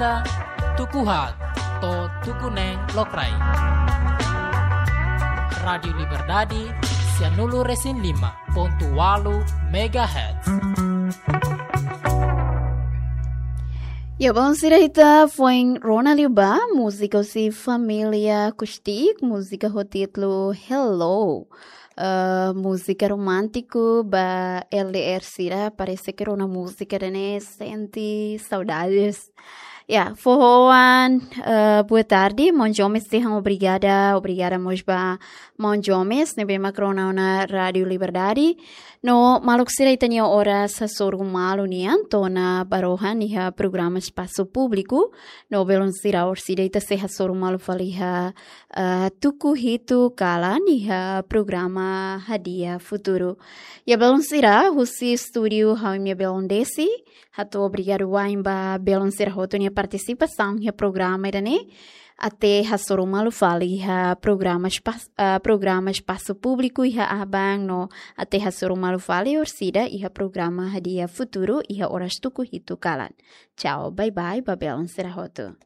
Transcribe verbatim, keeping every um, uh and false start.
Ita tuku haat to'o tuku neen lokraik. Rádiu Liberdade, sianulu resin lima pontu walu megahertz. Ya, belun sira, ita foin rona liu ba múzika husi família Kustik, múzika ho títulu Hello. Eh, múzika romántiku ba L D R sira, parese ke rona múzika ida-ne'e sente saudades. Ya, foho oan, eh, boa tarde, maun Jomes dehan obrigada, obrigada mós ba maun Jomes, ne'ebé mak rona ona Rádiu Liberdade. No maluk sira, ita-nia oras hasoru malu nian, to'o ona ba rohan iha programa Espasu Públiku. No belun sira, orsida ita sei hasoru malu fali iha, eh, tuku hitu kalan iha programa Hadi'a Futuru. Ya belun sira, husi estúdiu ha'u-nia belun Desi, hato'o obrigadu wa'in ba belun sira hotu nia partisipasaun iha programa ida-ne'e. Até hasoru malu fali iha programa Espas-, eh, programa Espasu Públiku iha aban no até hasoru malu fali orsida iha programa Hadi'a Futuru iha oras tuku hitu kalan. Tchau, bye bye ba belun sira hotu.